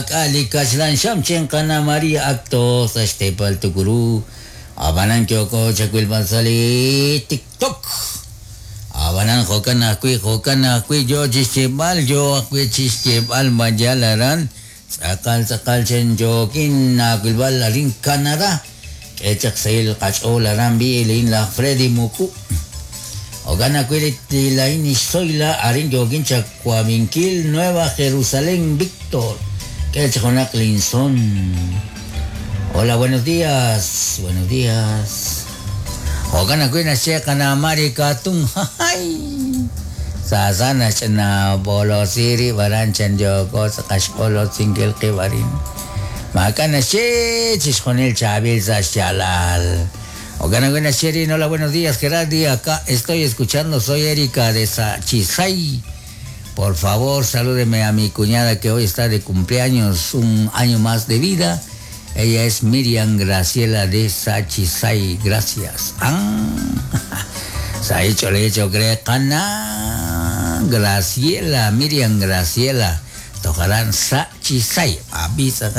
Maak'a' li kaxlan xam chinqana María acto sa' xteepal Tukuru. Ab'anan yooko chawilb'al sa' li TikTok. Ab'anan jo'kan ajwi' jo'kan ajwi' yo chi xyeeb'al yo ajwi' chi xyeeb'al mayal aran tz'aqal tz'aqal chen yookin aawilb'al arin Canadá. K'e chaq sahil qach'ool aran b'i lin laj Freddy Muku. Jo'kan ajwi' li laa'in Ixzoyla arin yookin chawab'inkil Nueva Jerusalén Víctor. K'e chaq junaq linson. Hola, buenos días. Buenos días. Jo'kan ajwi' naxye qana Mari Katun. Jajay. Saasa naxch'ina b'olosiri rib' aran chan yooko sa' qaxb'olosinkil qib' arin. Maak'a' naxye chixjunil chaab'il sa' xyaalal. Jo'kan ajwi' naxye rin, hola, buenos días, Gerardi. Acá estoy escuchando, soy Erika de Sachisay. Por favor, salúdeme a mi cuñada que hoy está de cumpleaños, un año más de vida. Ella es Miriam Graciela de Sachisay. Gracias. Ah, se ha hecho, le he hecho Grecana. Graciela, Miriam Graciela. Tocarán Sachisay. Avisa,